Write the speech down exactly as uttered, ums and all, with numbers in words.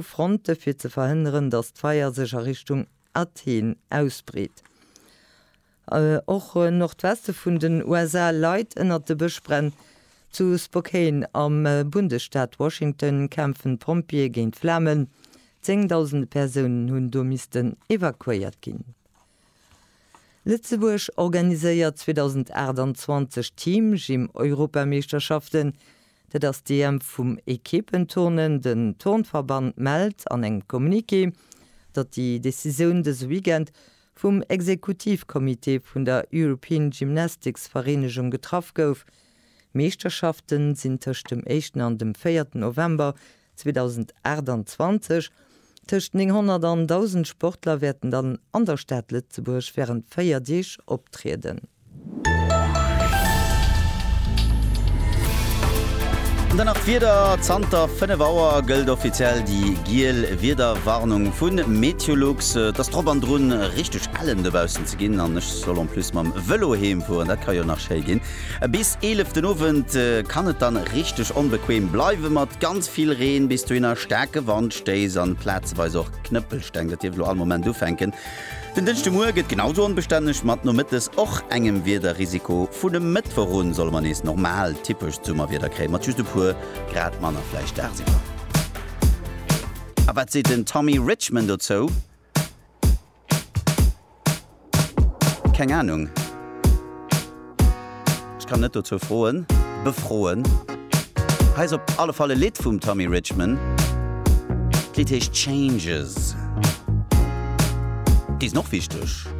Fronte fir ze verhënneren, datt d'Feier sech a Richtung Athen ausbreet. Och Nordweste vun den U S A leit ënnert de Bëschbränn. Zu Spokane am Bundesstaat Washington kämpfen d'Pompjeeë géint d'Flamen. Zéngdausende Persounen hunn do missten evakuéiert ginn. Lëtzebuerg organiséiert zweedausendaachtanzwanzeg Team-Gym-Europameeschterschaften. Dat ass d'E M vum Ekipenturnen. Den Turnverband mellt an engem Communiqué, datt déi Decisioun dëse Weekend vum Exekutivcomité vun der European Gymnastics Vereenegung getraff gouf. Meeschterschaften sinn tëscht dem éischten an dem véierten November zweedausendaachtanzwanzeg. Tëscht nénghonnert an dausend Sportler wäerten dann an der Stad Lëtzebuerg wärend véier Deeg optrieden. An dann nach d'Wieder, Zanter fënnef Auer gëllt offiziell déi giel Wiederwarnung vu Meteolux. Et ass drop an drun richteg ellen dobaussen ze ginn an ech soll en plus mam Vëlo heem fueren, dat ka jo nach schéi ginn. Bis eelef den Owend kann et dann richteg onbequem bleiwe mat ganz vill Reen, bis dohinner staarke Wandstéiss an plazeweis och Knëppelsteng. Dat dierft elo all Moment ufänken. Den Dënschdemuer gëtt genau sou onbestänneg mat nomëttes och engem Wiederrisiko. Vun e Mëttwoch un solle mer nees normal typescht Summerwieder kréien, mat just e puer Grad manner vläicht dagsiwwer. A wat seet den Tommy Richman dozou? Keng Anung. Ech kann net dozou froen, befroen. Hei ass op alle Fall e Lidd vum Tommy Richman. D'Lidd heescht Changes. Déi sinn och wichteg.